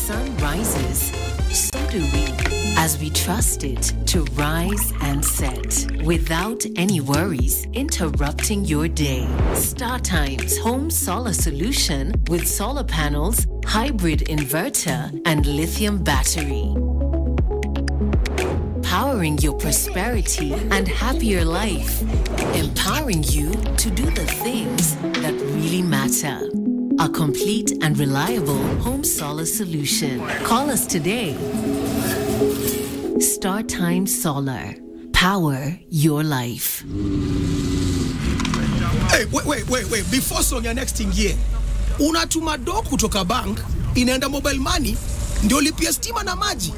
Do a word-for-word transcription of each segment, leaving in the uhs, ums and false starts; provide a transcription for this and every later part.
sun rises, so do we, as we trust it to rise and set without any worries interrupting your day. Star Times Home Solar Solution with solar panels, hybrid inverter, and lithium battery. Powering your prosperity and happier life. Empowering you to do the things that really matter. A complete and reliable home solar solution. Call us today. Star Time Solar. Power your life. Hey, wait, wait, wait, wait. Before song ya next ingie, unatuma do kutoka bank inaenda mobile money ndio lipia stima na maji.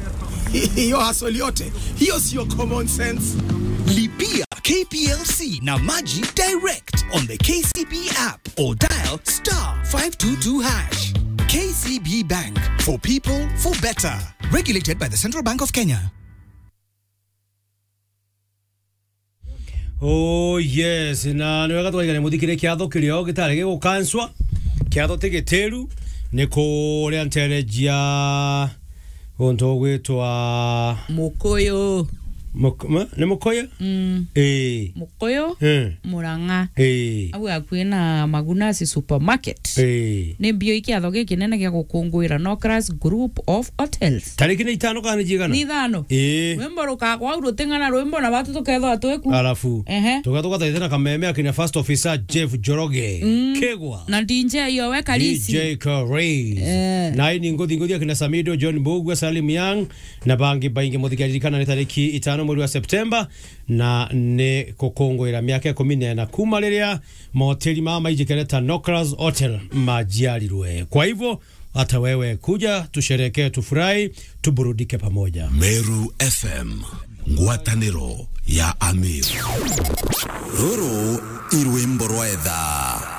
Hiyo hasoli yote hiyo sio common sense. Lipia K P L C na maji direct on the K C B app or dial star five two two hash. K C B Bank, for people, for better. Regulated by the Central Bank of Kenya. Oh yes, na ni wega twaigane muthikire kiatho kirio gitari gigukanswa. Kiatho ti gitiru, ni kuria nterejia untu ugwitwa Mukuyu. Muk- ma- ni Mukuyu? Mm. Ii. Mukuyu. Eh. Murang'a. Ii. Au akui na Magunasi Supermarket. Ii. Ni mbio ikiatho gikinene gia gukunguira Nokras Group of Hotels. Tariki ni itano kana ni jigana? Ni ithano. Ii. Rwimbo rukagwa au ruting'ana rwimbo na batu tukethwa twiku. Alafu. Ehe. Tuga tugathaithana kameme akina first officer Jeff Njoroge. Mm. Kegwa. Na D J yo we Karisi. D J Karis. Eh. Na ini nguthi nguthi akina Samido, John Mbugua, Salim Young na bangi baingi. Muthikiririkana ni tariki itano mweri wa Septemba na ni gukunguira miaka ikumi na ina kuma riria mahoteli mama maijikene ta Nokras Hotel majiarirwe. Kwa hivyo, hata wewe kuja tusherekee, tufurahi, tuburudike pamoja. Meru F M, ngwataniro ya Ameru. Ruru i rwimbo rwa etha.